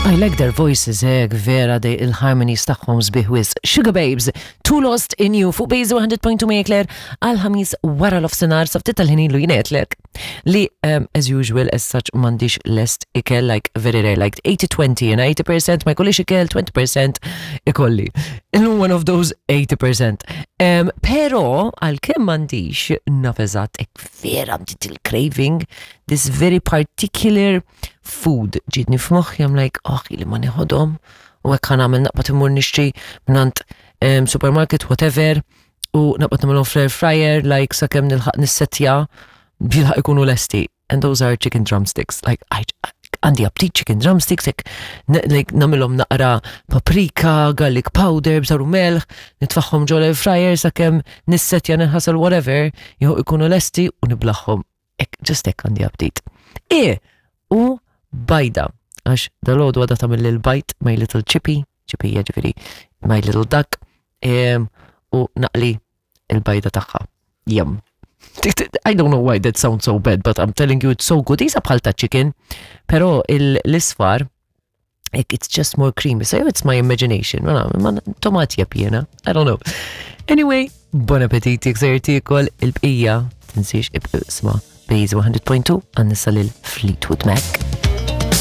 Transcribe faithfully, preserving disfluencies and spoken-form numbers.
I like their voices, eh, vera de il-harmonies tagħhom sbieħ wisq. Sugababes, Too Lost in You, fuq Base one hundred point two Marie Claire, għal-Ħamis wara l-nofsinhar, sa ftit tal-ħin ilu jien għedtlek li, um, as usual, as such, m'għandix lest ikel, like, very rare, like eighty twenty, and eighty percent ma jkollix ikel, twenty percent ikolli. Illum one of those eighty percent. Um, pero, għalkemm m'għandix, naf eżatt, ek vera bdiet il-craving, this very particular food ġietni f'moħħi, I'm like, "Oh, li ma neħodhom," u hekk ħa nagħmel, naqbad immur nixtri mingħand um, supermarket, whatever, u naqbad nagħmilhom fl-air fryer, like sakemm nilħaq nissetja, bilħaq ikunu lesti. And those are chicken drumsticks. Like, I, għandi aptit chicken drumsticks, like, like nagħmilhom naqra paprika, garlic powder, bżar u melħ, nitfagħhom ġol air fryer sakemm nissetja, nħasel, whatever, jew ikunu lesti u niblagħhom. Ek, just hekk għandi aptit. E, u bajda, għax dalgħodu għadha tagħmel il-bajd, my little chippy, chippy ġifieri, my little duck, em, u naqli il-bajda tagħha. Yum. I don't know why that sounds so bad, but I'm telling you it's so good. Isa bħal ta' chicken, pero l-isfar, it's just more creamy. So it's my imagination. Ma ma tomati jena. I don't know. Anyway, bon appetit jekk sejjer tiekol il-bqija, tinsiex isma' Base one hundred point two għan nisa lil Fleetwood Mac.